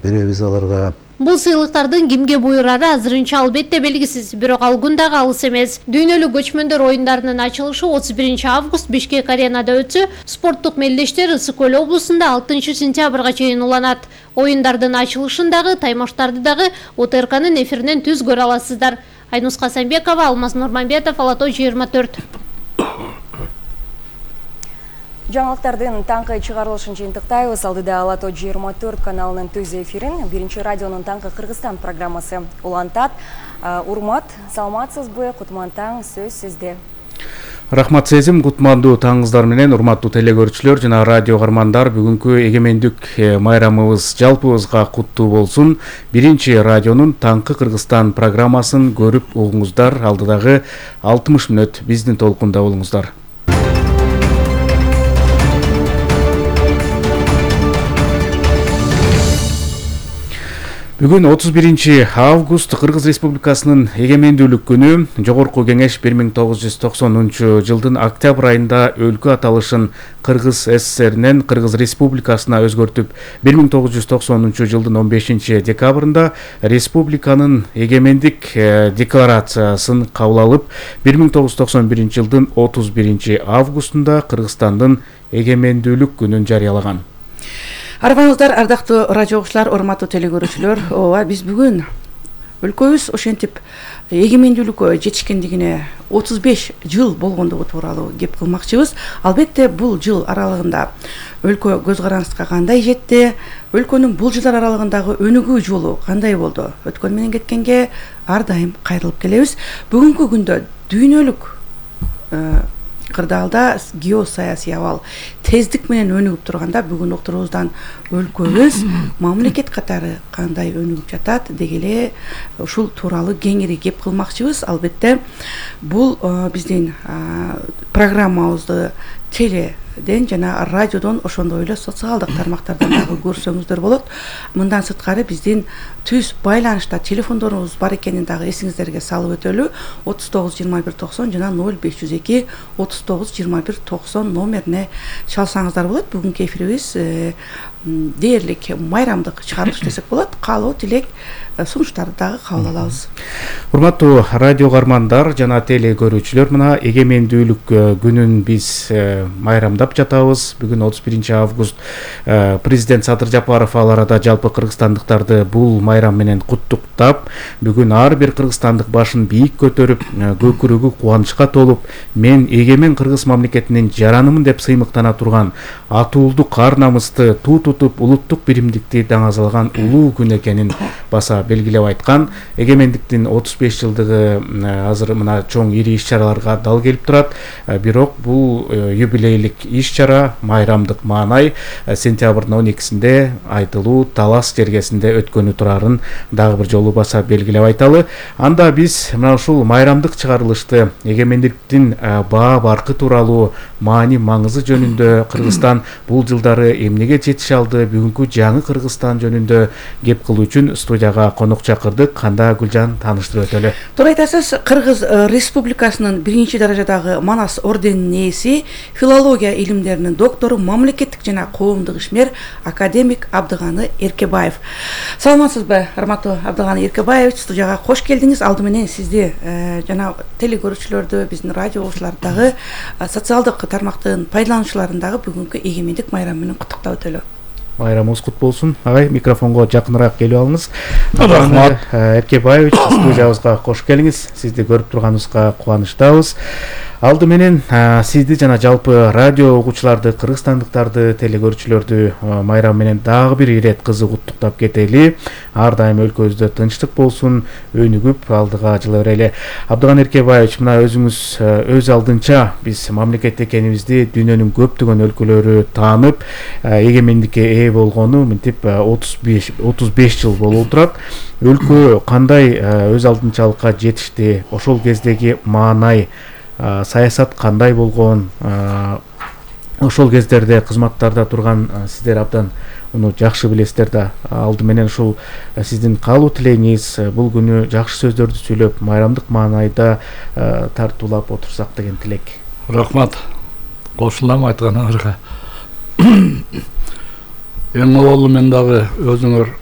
беребиз аларга. Бул сыйлыктардын кимге буйрары азырынча албетте белгисиз, бирок алгун дагы алыс эмес. Дүйнөлүк көчмөндөр оюндарынын ачылышы 31 август Бишкек аренада өтсө, спорттук мелдештер Ысык Көл облусунда 6 сентябрга чейин уланат. Оюндардын ачылышындагы таймаштарды дагы ОТРКнын эфиринен түз көрө аласыздар. Айнус Касамбекова, Алмаз Нурманбетов, Алато 24. Жаңылыктардын таңкы чыгарылышын жыйынтыктайбыз. Алдыда Алато 24 каналынын түз эфирин биринчи радионун таңкы Кыргызстан программасы улантат. Урмат, саламатсызбы? Кутман таң, сөз сизде. Рахмат сезим, кутмандуу таңыңыздар менен урматтуу телегөрүүчүлөр жана радио каармандар, бүгүнкү эгемендик майрамыбыз жалпыбызга куттуу болсун. Биринчи радионун таңкы Кыргызстан программасын көрүп угуңуздар. Алдыдагы 60 мүнөт биздин толкунда болуңуздар. Бүгүн 31 август Кыргыз Республикасынын эгемендүүлүк күнү. Жогорку кеңеш 1990 жылдын октябрь айында өлкө аталышын Кыргыз СССРинен Кыргыз Республикасына өзгөртүп, 1990 жылдын 15 декабрында республиканын эгемендик декларациясын кабыл алып, 1991 жылдын 31 августунда Кыргызстандын эгемендүүлүк күнүн жарыялаган. Арбаңыздар, ардактуу радио окуучулар, урматтуу телегөрүүчүлөр, биз бүгүн өлкөбүз ошентип эгемендүүлүккө жетишкендигине 35 жыл болгондугу тууралуу кеп кылмакчыбыз. Албетте, бул жыл аралыгында өлкө көз карандыска кандай жетти, өлкөнүн бул жылдар аралыгындагы өнүгүү жолу кандай болду? Өткөн менен кеткенге ар дайым кайрылып келебиз. Бүгүнкү күндө дүйнөлүк кырдаалда геосаясий абал тездик менен өнүгүп турганда, бүгүн уктурубуздан өлкөбүз мамлекет катары кандай өнүгүп жатат дегеле ушул тууралуу кеңири кеп кылмакчыбыз. Албетте, бул биздин программабызды теледен жана радиодон, ошондой эле социалдык тармактардан дагы көрсөңүздөр болот. Мындан сырткары биздин түз байланышта телефондорубуз бар экенин дагы эсиңиздерге салып өтөлү. 39 21 90 жана 0502 39 21 90 номерине чалсаңыздар болот. Бүгүнкү эфирибиз дээрлик майрамдык чыгарылыш десек болот. Каалоо, тилек, сунуштарды дагы кабыл алабыз. Урматтуу радио каармандар жана телегөрүүчүлөр, мына эгемендүүлүк күнүн биз майрамдап жатабыз. Бүгүн 31 август президент Садыр Жапаров ал арада жалпы кыргызстандыктарды бул майрам менен куттуктап, бүгүн ар бир кыргызстандык башын бийик көтөрүп, көкүрөгү кубанычка толуп, мен эгемен кыргыз мамлекетинин жаранымын деп сыймыктана турган, атуулдук ар намысты туу тутуп, улуттук биримдикти даңазалган улуу күн экенин баса белгилеп айткан. Эгемендиктин 35 жылдыгы азыр мына чоң ири иш-чараларга дал келип турат. Бирок бул юбилейлик иш-чара, майрамдык маанай сентябрдын 12-синде Айтылуу Талас жергесинде өткөнү турарын дагы бир жолу баса белгилеп айталы. Анда биз мына ушул майрамдык чыгарылышты эгемендиктин баа баркы тууралуу маани маңызы жөнүндө, Кыргызстан бул жылдары эмнеге жетише алды, бүгүнкү жаңы Кыргызстан жөнүндө кеп кылуу үчүн студияга конок чакырдык. Канда Гүлжан тааныштырып өтөлү. Туура айтасыз. Кыргыз Республикасынын биринчи даражадагы Манас орденинин ээси, филология илимдеринин доктору, мамлекеттик жана коомдук ишмер академик Абдыганы Эркебаев. Саламатсызбы, урматтуу Абдыганы Эркебаевич? Студияга кош келдиңиз. Алды менен сизди жана телегөрүүчүлөрдү, биздин радио окуучуларды дагы, социалдык тармактын пайдалануучуларын дагы бүгүнкү эгемендик майрамы менен куттуктап өтөлү. Майрамыңыз кут болсун. Агай, микрофонго жакыныраак келип алыңыз. Рахмат. Эркебаевич, студиябызга кош келиңиз. Сизди көрүп турганыбызга кубанычтабыз. Алды менен сизди жана жалпы радио угуучуларды, кыргызстандыктарды, телегөрүүчүлөрдү майрам менен дагы бир ирет кызык куттуктап кетели. Ар дайым өлкөбүздө тынчтык болсун, өнүгүп алдыга жыла берели. Абдыган Эркебаевич, мына өзүңүз өз алдынча биз мамлекет экенибизди дүйнөнүн көптөгөн өлкөлөрү таанып, эгемендикке ээ болгону мынтип 35 жыл болуп турат. Өлкө кандай өз алдынчалыкка жетишти? Ошол кездеги маанай, саясат кандай болгон? Ошол кездерде кызматтарда турган сиздер абдан муну жакшы билесиздер да. Алды менен ушул сиздин каалоо тилегиңиз, бул күнү жакшы сөздөрдү сүйлөп, майрамдык маанайда тартуулап отурсак деген тилек. Рахмат. Кошулам айтканыңызга. Эң аввалы мен дагы өзүңөр